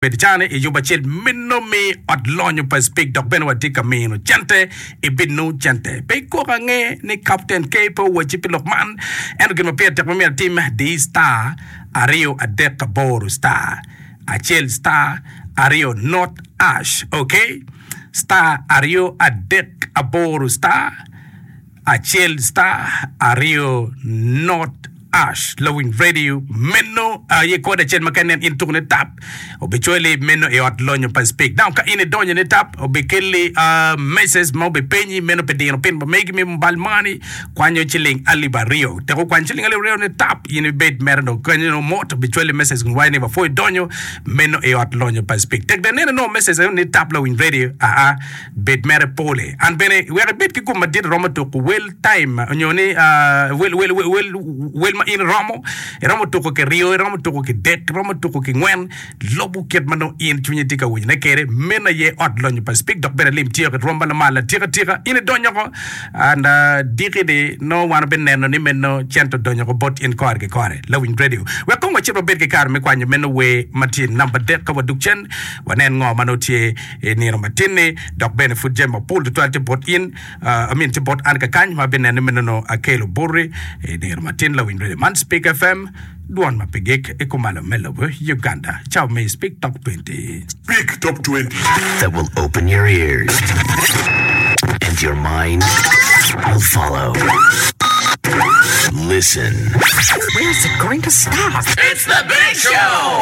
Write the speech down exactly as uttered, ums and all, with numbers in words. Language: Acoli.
Bed cani i yub acel meno mi ot lonyo pa Speke dok bene watye ka mino cente ibino cente. Pe ikok ange ni Captain K pe owacci pi lok man. Ento gin ma pire tek ma myero atim, di star aryo adek aboro star acel star aryo not ash. Ok? Star aryo adek aboro star acel star aryo not ash. Lawiny radio meno aye kode acel ma ka inen in tuko ne tap obicwali meno i ot lonyo pa Speke. Now ka in idonyo ne tap obikelli uh, message ma obipenyi meno pi dino pin pa megi me mobile money kwanyo ciling alip aryo. Tek okwanyo ciling alip aryo ne tap in ibed mere dong kenyo no mot obicwali message kun waco ni wapwoyo donyo meno i ot lonyo pa Speke. Tek dong ineno nongo message eno ni tap lawiny radio aa bed mere pole. An bene wek ibed ki gum madit iromo tuko wel time onyo ni uh, wel, wel, wel, wel, wel ma in iromo iromo tuko ki ryo iromo tuko ki dek iromo tuko ki ngwen lobo kit ma nongo in cwinyi tye ka winyone kede meno aye ot lonyo pa Speke dok bene lim tye ki rwom ma lamal atika tika in idonyo ko and uh, diki ni nongo wan obineno ni meno cente odonyo ko bot in kore ki kore lawiny radio wek kong wacit wabed ki kare me kwanyo meno wer ma tye namba adek ka wadug cen wanen ngo ma nongo tye i nino matin-ni dok bene pud jami mapol tutwal tye bot in uh, I mean tye bot an kakany ma bineno ni meno nongo akelo boti i nino matin lawiny radio man Speke F M dwon ma pe gik i kumalo me lobo Uganda cawa me Speke Top twenty. Speke Top twenty. That will open your ears and your mind will follow. Listen. Where's it going to stop? It's the Big Show!